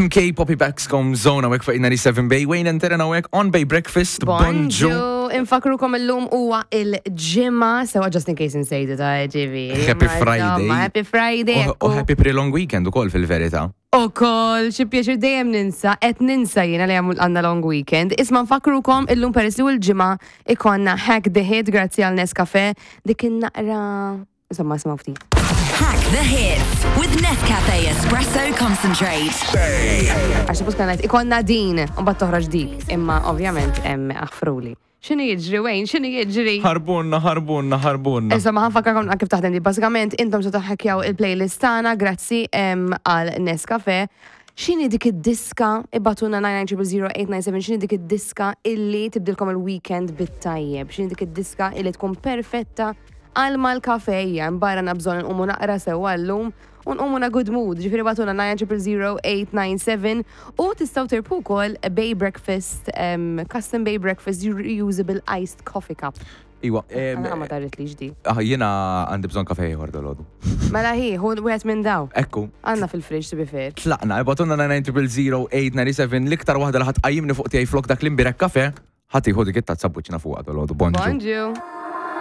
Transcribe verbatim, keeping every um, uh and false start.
M K Poppy Baxcom Zone hawnhekk fuq ninety-seven Bay, Wayne and Terena hawnhekk on Bay Breakfast. Bonġu. Infakkrukom illum huwa il-Ġimgħa, sewa, just in case insejtu ta' ġifieri. Happy Friday. Happy Friday. U happy pre-long weekend ukoll fil-verità. U kol, xi pjaċir, dejjem ninsa, qed ninsa jiena li għandna long weekend. Isma', nfakkrukom illum, peress li l-Ġimgħa, ikollna Hack the Hit grazzi għal Nescafe, dik naqra. Insomma, smgħu ftit. Hack the Hits with Nescafe Espresso Concentrate. Għax suppost kienet ikollna din, u mbagħad toħroġ dik, imma ovvjament hemm aħfruli. X'inhu jiġri, Wayne? X'inhu jiġri? Ħarbunna, ħarbunna, ħarbunna. Insomma, ħa nfakkarkom kif taħdem di. Basikament, intom se taħkjaw il-playlist tagħna grazzi għal Nescafe. X'inhi dik id-diska, ibagħtulna nine nine zero zero eight nine seven, x'inhi dik id-diska illi tibdilkom il-weekend bit-tajjeb, x'inhi dik id-diska illi tkun perfetta għal mal-kafe barra nabżon nqumu naqra sewa llum u nqumu in a good mood. Ġifieri ibagħtulna nine zero zero eight nine seven u tistgħu tirbħu wkoll Bay Breakfast, um, custom Bay Breakfast reusable iced coffee cup. Iwa, Għana ma darrit li ġdi. Ah, jiena għandi bżonn kafe ieħor dalgħodu. Mela hi, hu wieħed minn daw. Ekku. Għandna fil-fridge, to be fair. Tlaqna, ibagħtulna nine zero zero eight nine seven, l-iktar waħda li ħa tqajjimni fuq tiegħi flok dak l-imbirek kafe, ħa tieħu dik it-tazza buċina fuq dalgħodu. Bonġu. Bonġu.